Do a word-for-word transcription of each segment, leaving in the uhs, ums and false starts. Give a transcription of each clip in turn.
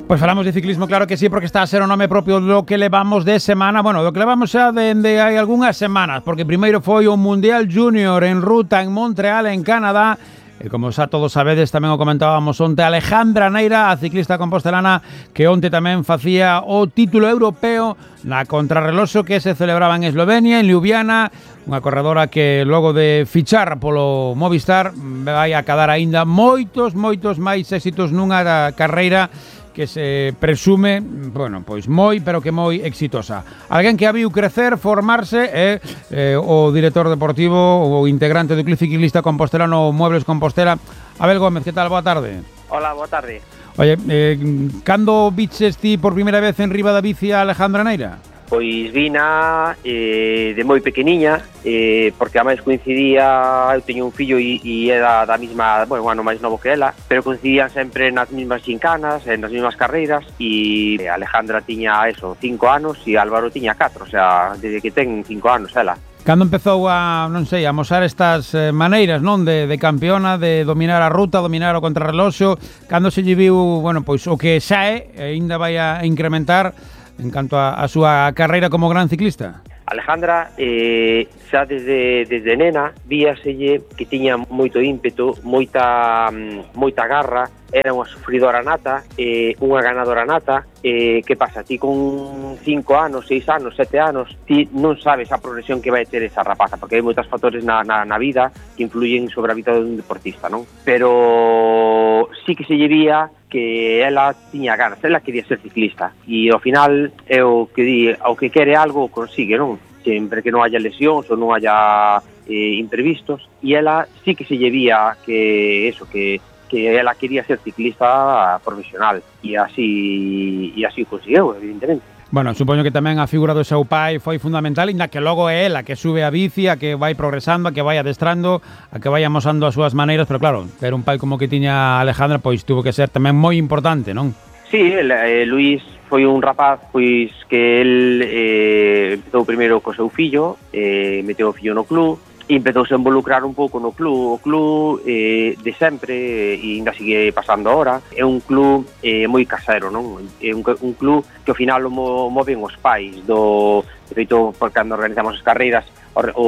Pois falamos de ciclismo, claro que sí, porque está a ser o nome propio do que levamos de semana, bueno, do que levamos xa dende hai algunhas semanas, porque primeiro foi o Mundial Júnior en ruta en Montreal, en Canadá, e como xa todos sabedes, tamén o comentábamos onte, Alejandra Neira, a ciclista compostelana, que onte tamén facía o título europeo na contrarreloxo que se celebraba en Eslovenia, en Ljubljana, unha corredora que logo de fichar polo Movistar vai a cadar aínda moitos, moitos máis éxitos nunha carreira que se presume, bueno, pois moi, pero que moi exitosa. Alguén que a viu crecer, formarse, é eh, o director deportivo, o integrante do Club Ciclista Compostelano Muebles Compostela, Abel Gómez. Que tal? Boa tarde. Hola, boa tarde. Oye, eh, cando biches ti por primeira vez en riba da bici a Alejandra Neira? Pois vina eh, de moi pequeniña, eh, porque a máis coincidía, eu teño un fillo e, e era da mesma, bueno, un ano máis novo que ela, pero coincidían sempre nas mesmas xincanas, nas mesmas carreiras, e Alejandra tiña eso, cinco anos e Álvaro tiña catro, o sea, desde que ten cinco anos ela. Cando empezou a, non sei, a mosar estas eh, maneiras, non, de, de campeona, de dominar a ruta, dominar o contrarreloxo, cando se lle viu, bueno, pois o que xa é, e ainda vai a incrementar en canto a, a súa carreira como gran ciclista? Alejandra, eh, xa desde, desde nena, víaselle que tiña moito ímpeto, moita, moita garra, era unha sufridora nata, eh, unha ganadora nata. Eh, que pasa? Ti con cinco anos, seis anos, sete anos, ti non sabes a progresión que vai ter esa rapaza, porque hai moitos factores na, na, na vida que influyen sobre a vida dun deportista, non? Pero sí que se lle vía que ela tiña ganas, ela quería ser ciclista, e ao final é o que di, ao que quere algo consigue, non? Sempre que non haya lesións ou non haya eh, imprevistos, e ela sí que se lle vía que eso, que que ela quería ser ciclista profesional, e así e así o conseguiu, evidentemente. Bueno, supoño que tamén a figura do seu pai foi fundamental, inda que logo é ela que sube a bici, a que vai progresando, a que vai adestrando, a que vai amosando as súas maneiras, pero claro, ter un pai como que tiña Alejandra, pois tuvo que ser tamén moi importante, non? Sí, el, eh, Luís foi un rapaz pois que el eh, empezou primeiro co seu fillo, eh, meteu o fillo no club, e empezouse a involucrar un pouco no club. O club eh, de sempre, e ainda sigue pasando ahora, é un club eh, moi casero, non? É un, un club que ao final o mo, moven os pais do, de feito, por cando organizamos as carreiras, o, o,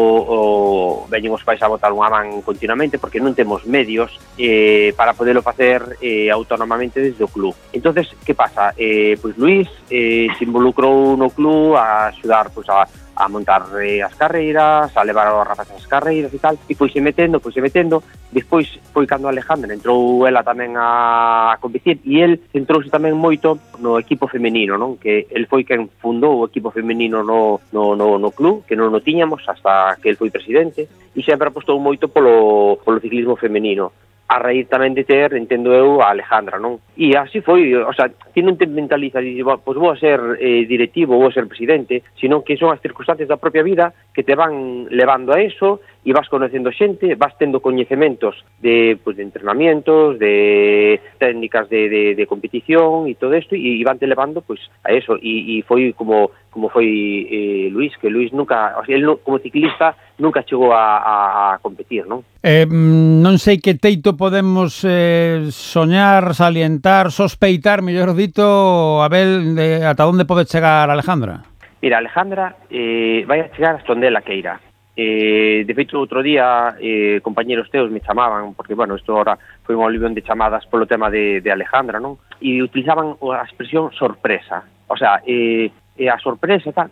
o veñen os pais a botar unha man continuamente, porque non temos medios eh, para poderlo facer eh, autónomamente desde o club. Entonces, que pasa? Eh, pois Luís eh, se involucrou no club a axudar pois, a a montar eh, as carreiras, a levar aos rapaces as carreiras e tal, e pois se metendo, pois se metendo, despois foi cando Alejandra entrou ela tamén a competir, e el entrouse tamén moito no equipo femenino, non? Que el foi quen fundou o equipo femenino no, no, no, no club, que non o tiñamos hasta que el foi presidente, e sempre apostou moito polo, polo ciclismo femenino, a raíz tamén de ter, entendo eu, a Alejandra, non? E así foi, o sea, ti non te mentalizas e dices, pois vou a ser eh, directivo, vou a ser presidente, sino que son as circunstancias da propia vida que te van levando a eso, e vas conocendo xente, vas tendo coñecementos de, pues, de entrenamientos, de técnicas de, de, de competición e todo isto, e, e van te levando pues, a eso, e, e foi como como foi eh, Luís, que Luís nunca, o sea, él no, como ciclista nunca chegou a, a, a competir, non? Eh, non sei que teito podemos eh, soñar, salientar, sospeitar, mellor dito, Abel, de ata onde pode chegar Alejandra? Mira, Alejandra eh, vai a chegar hasta onde ela queira. Eh, de feito, outro día eh, compañeros teus me chamaban, porque, bueno, isto ahora foi un olivión de chamadas polo tema de, de Alejandra, non? E utilizaban a expresión sorpresa. O sea, eh, e a sorpresa, tal,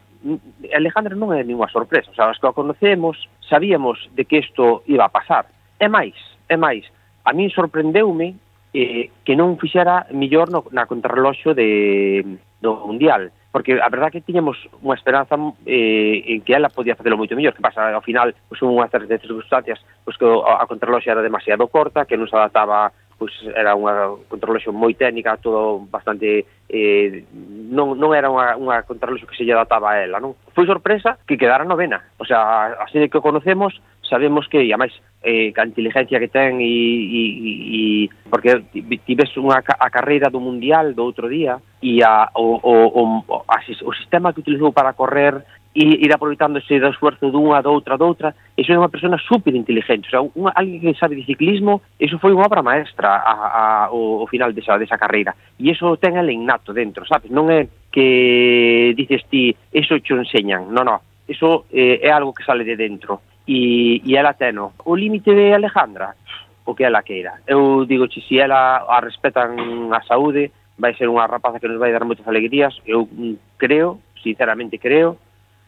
Alejandra non é ninguna sorpresa, o sea, os que a conocemos sabíamos de que isto iba a pasar. É máis, é máis, a min sorprendeume eh, que non fixera millor no, na contrarreloxo de, do Mundial, porque a verdad que tiñamos unha esperanza eh, en que ela podía facelo moito mellor. Que pasa, ao final, pois, unhas de circunstancias, pois, que a contrarreloxo era demasiado corta, que non se adaptaba, pois era unha contrarreloxo moi técnica, todo bastante eh, non, non era unha, unha contrarreloxo que se lle adaptaba a ela, non? Foi sorpresa que quedara novena, o sea, así de que o conocemos, sabemos que, e a máis, eh, a inteligencia que ten e, e, e porque tives unha a carreira do Mundial do outro día e a, o, o, o, a, o sistema que utilizou para correr ir aproveitándose do esfuerzo dunha, da outra, da outra. Iso é unha persona super inteligente, o sea, unha, alguén que sabe de ciclismo, iso foi unha obra maestra a, a, o, o final desa, desa carreira, e iso ten el innato dentro, sabes, non é que dices ti, iso cho enseñan, non, non, iso eh, é algo que sale de dentro, e, e ela teno. O límite de Alejandra, o que ela queira, eu digo, se si ela a respetan a saúde, vai ser unha rapaza que nos vai dar moitas alegrías. Eu creo, sinceramente creo,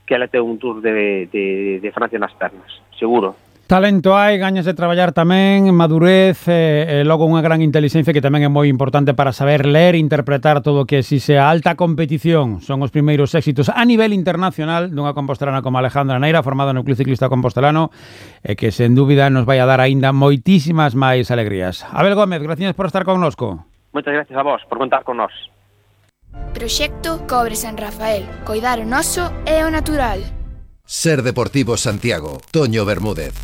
que ela ten un tour de, de, de Francia nas pernas, seguro. Talento hai, gañas de traballar tamén, madurez e, e logo unha gran intelixencia que tamén é moi importante para saber ler e interpretar todo o que si se a alta competición. Son os primeiros éxitos a nivel internacional dunha compostelana como Alejandra Neira, formada no Club Ciclista Compostelano, e que sen dúbida nos vai a dar aínda moitísimas máis alegrías. Abel Gómez, gracias por estar connosco. Moitas gracias a vos por contar con nós. Proxecto Cobre San Rafael. Coidar o noso é o natural. Ser Deportivo Santiago. Toño Bermúdez.